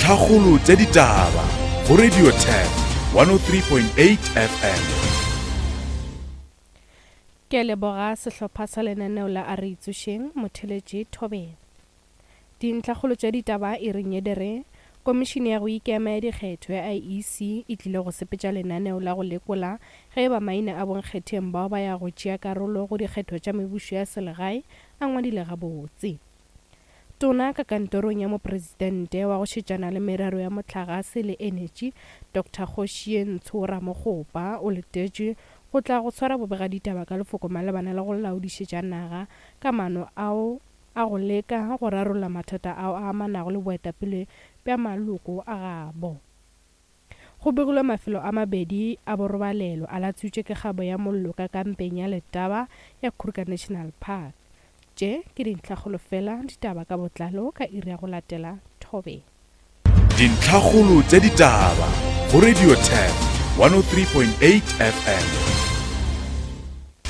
Dintlhakgolo tša ditaba go Radio Turf 103.8 FM. Ke a leboga sehlopha sa lenaneo la A Re Itsošeng, Motheletši Thobela. Dintlhakgolo tša ditaba e re nyedere, Komišene ya go Ikema ya Dikgetho ya IEC e tlile go sepetša lenaneo la go lekola ge e ba maina a bonkgetheng bao ba ya go tšea karolo go dikgetho tša mebušo ya selegae a ngwadile gabotse. Tona ka kantorong ya Mopresidente wa go šetšana le merero ya mohlagase le enetši, Doctor Kgošientsho Ramokgopa o letetšwe go tla go swara bobegaditaba ka lefoko malebana le go laodišetša naga ka maano ao a go leka go rarolla mathata ao a amanago le boetapele bja maloko a gabo. Go begilwe mafelo a mabedi a borobalelo a latswitšwe ke kgabo ya mollo ka kampeng ya Letaba ya Kruger National Park. Tše ke dintlhakgolo fela, ditaba ka botlalo ka iri ya go latela Thobela. Dintlhakgolo tša ditaba go Radio Turf 103.8 FM.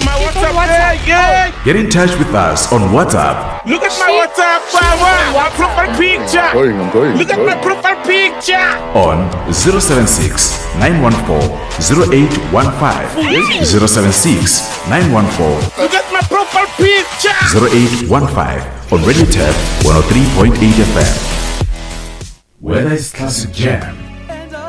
My WhatsApp, yeah, yeah. Get in touch with us on WhatsApp. Look at my WhatsApp, power. My profile picture. I'm going, I'm going. Look at my profile picture. On 076 914 0815. 076 914 Look at my profile picture. 0815 on Radio Turf 103.8 FM. Whether it's classic jam,